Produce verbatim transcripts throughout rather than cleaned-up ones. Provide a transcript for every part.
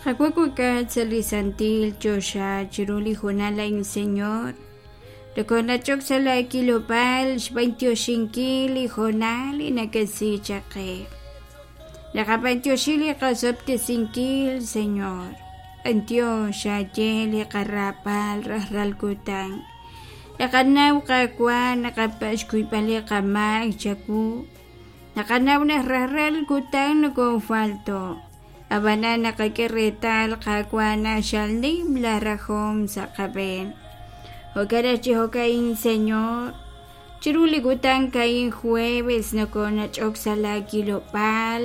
Qawa' sa' li santil choxa chiru li hoonal a'in Señor nokoonach'ok sa' la kilob'aal xb'antioxinkil li hoonal li nakasi chaq qe naqab'antioxi li qasob'tesinkil Señor b'antiox xaye li qarab'al rajlal kutan naqanaw Qaawa' naqapa' xkuyb'al li qamaak chawu naqanaw naq rajlal kutan nokoofalto' ab'anan naqak'e reetal Qaawa' naq xal nim la rajom sa' qab'een jo'kan naq chi jo'ka'in Señor chiru li kutan ka'in jueves nokoonach'ok sa' la kilob'aal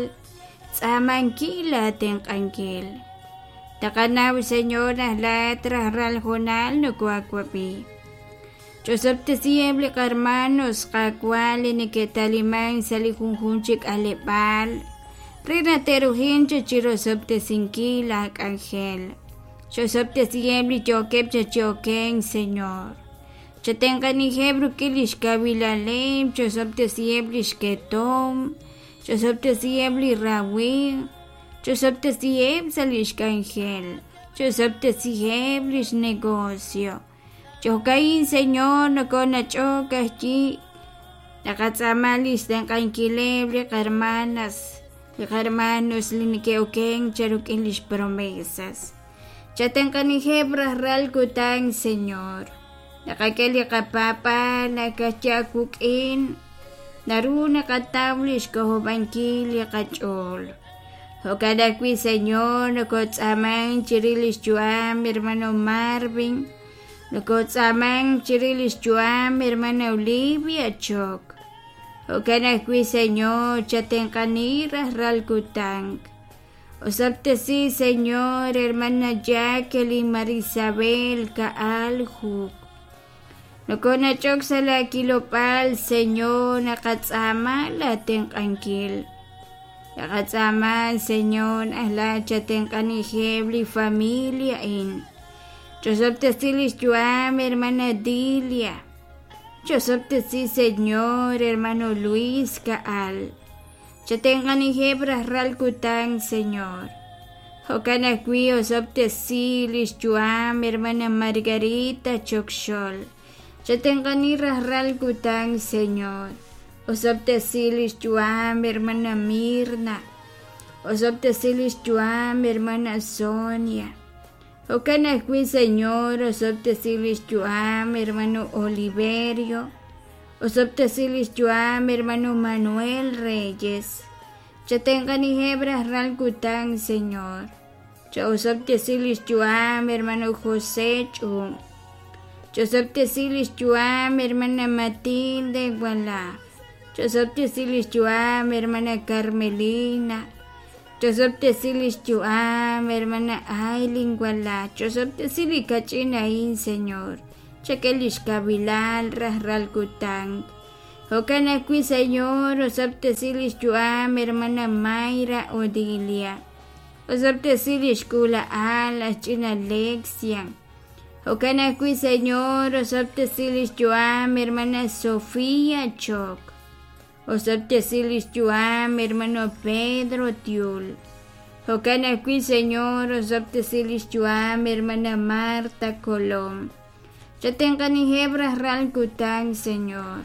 tz'aamankil aatenq'ankil taqanaw Señor naq laat rajlal hoonal nokoawab'i ch'osob'tesiheb' li qarmanos Qaawa' li neke'taliman sa' li junjunq chi k'aleb'aal re naq te'rujin chirosob'tesinkil laak'anjel ch'osob'tesiheb' li yookeb' chachioken Señor chatenq'anijeb' rik'in li xkawilaleb' ch'osob'tesiheb' li xketom ch'osob'tesiheb' li rawimq ch'osob'tesiheb' sa' li xk'anjel ch'osob'tesiheb' li xnegocio Ch'okain Señor nokoonach'ok ajyi naqatz'aama li xtenq'ankileb' li qarmanas li qarmanos li neke'oken charuk'in lix promesas chatenq'anijeb' rajlal kutan Señor naqak'e li qapaab'aal nakatyaawuk'in naru naqataw li xk'ojob'ankil li qach'ool jo'kan ajwi' Señor nokotz'aaman chirix li xyu'am hermano Marvin nokotz'aaman chirix li xyu'am hermana Olivia Choc jo'kan ajwi' Señor chatenq'ani rajlal kutan osob'tesi Señor hermana Jacqueline Marisabel Ka'al Juk nokoonach'ok sa' la kilob'aal Señor naqatz'aama laatenq'ankil naqatz'aama Señor ajla chatenq'anijeb' li familia in ch'osob'tesi li xyu'am hermana Dilia ch'osob'tesi Señor hermano Luis Ka'al chatenq'anijeb' rajlal kutan Señor jo'kan ajwi' osob'tesi li xyu'am hermana Margarita Chokxol chatenq'ani rajlal kutan Señor osob'tesi li xyu'am hermana Mirna osob'tesi li xyu'am hermana Sonia jo'kan ajwi' Señor osob'tesi li xyu'am hermano Oliverio osob'tesi li xyu'am hermano Manuel Reyes chatenq'anijeb' rajlal kutan Señor cha'osob'tesi li xyu'am hermano José Ch'um ch'osob'tesi li xyu'am hermana Matilde Walá ch'osob'tesi li xyu'am hermana Carmelina ch'osob'tesi li xyu'am hermana Aileen Walá ch'osob'tesi li kach'in a'in Señor chak'e li xkawilaal rajlal kutan jo'kan ajwi' Señor osob'tesi li xyu'am hermana Mayra Odilia osob'tesi li xk'uula'al aj ch'ina Alexia jo'kan ajwi' Señor osob'tesi li xyu'am hermana Sofía Choc osob'tesi li xyu'am hermano Pedro Tiul jo'kan ajwi' Señor osob'tesi li xyu'am hermana Marta Colom chatenq'anijeb' rajlal kutan Señor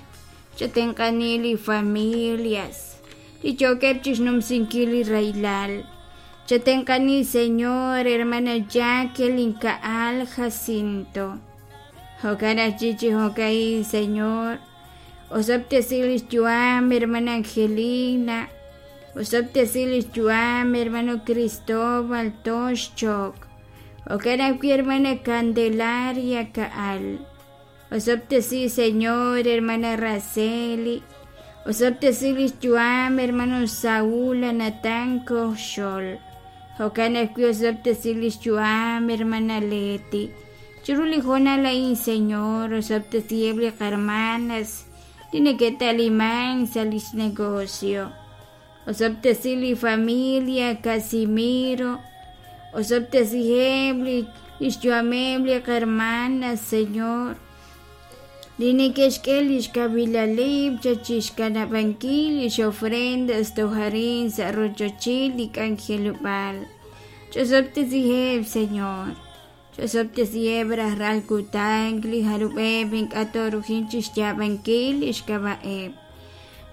chatenq'ani li familias li yookeb' chixnumsinkil li rahilal chatenq'ani Señor hermana Jacqueline Ka'al Jacinto jo'kan ajwi' chi jo'ka'in Señor osob'tesi li xyu'am hermana Angelina osob'tesi li xyu'am hermano Cristóbal Tox Choc jo'kan ajwi' hermana Candelaria Ka'al osob'tesi Señor hermana Raceli osob'tesi li xyu'am hermano Saúl Natán Koxol jo'kan ajwi' osob'tesi li xyu'am hermana Leti chiru li hoonal a'in Señor osob'tesiheb' li qarmanas li neke'taliman sa' li xnegocio osob'tesi li familia Casimiro osob'tesiheb' li xyu'ameb' li qarmanas Señor li neke'xk'e li xkawilaleb' chachixkanab'ankil li xofrendas tojarin sa' rochochil li k'anjelob'aal Ch'osob'tesiheb', Señor. Ch'osob'tesiheb' rajlal kutan li jarub'eb' ink'a' toorujin chixyaab'ankil lix k'ab'a'eb'.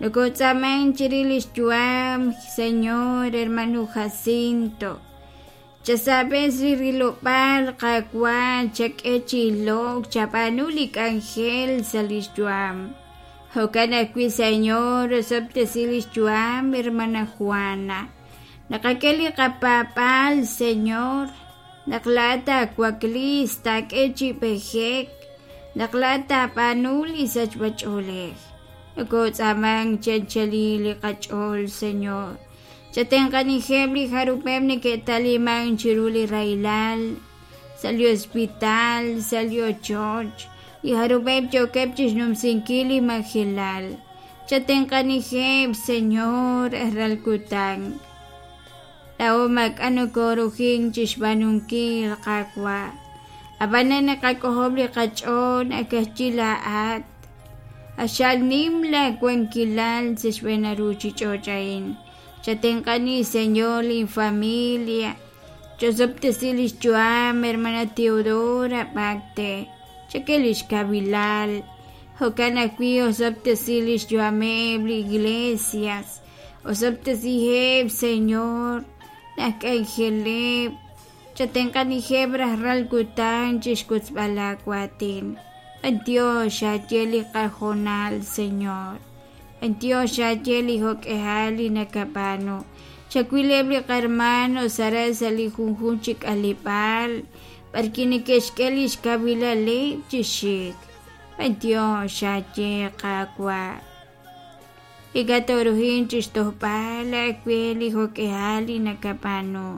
Nokotz'aaman chirix lix yu'am, Señor, hermano Jacinto. Chasab'es li rilob'aal Qaawa' chak'e chi ilok chab'aanu li k'anjel sa' lix yu'am. Jo'kan ajwi', Señor, osob'tesi lix yu'am, hermana Juana. Naqak'e li qapaab'aal, Señor, naq laa'at taawaklis taak'e chi b'ejek, naq laa'at taab'aanu li sachb'ach'oolej. Nokotz'aaman chi anchalil li qach'ool, Señor. Chatenq'anijeb' li jarub'eb' neke'taliman chiru li rahilal, sa' li hospital, sa' li ochoch, li jarub'eb' yookeb' chixnumsinkil li majelal. Chatenq'anijeb', Señor, rajlal kutan. Laa'o maak'a' nokorujin chixb'aanunkil, Qaawa'. Ab'anan naqak'ojob' li qach'ool nakajchi laa'at. Q'axal nim laawankilal sa' xb'een ruuchich'och' a'in. Chatenq'ani, Señor, linfamilia. Ch'osob'tesi lix yu'am, hermana Teodora B'akte. Chak'e lix kavilal. Jo'kan ajwi' osob'tesi lix yu'ameb' li iglesias. Osob'tesiheb', Señor, laj k'anjeleb'. Chatenq'anijeb' rajlal kutan chixwotzb'al laawaatin. B'antiox xaye li qajonal, Señor. B'antiox xaye li jo'k'ejal li nakab'aanu. Chawileb' li qarmanos aran sa' li junjunq chi k'aleb'aal b'arwi' neke'xk'e lix kawilaleb' chi xik. B'antiox xaye Qaawa'. Ink'a' toorujin chixtojb'al aawe li jo'k'ejal li nakab'aanu.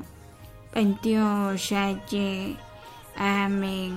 B'antiox xaye. Amén.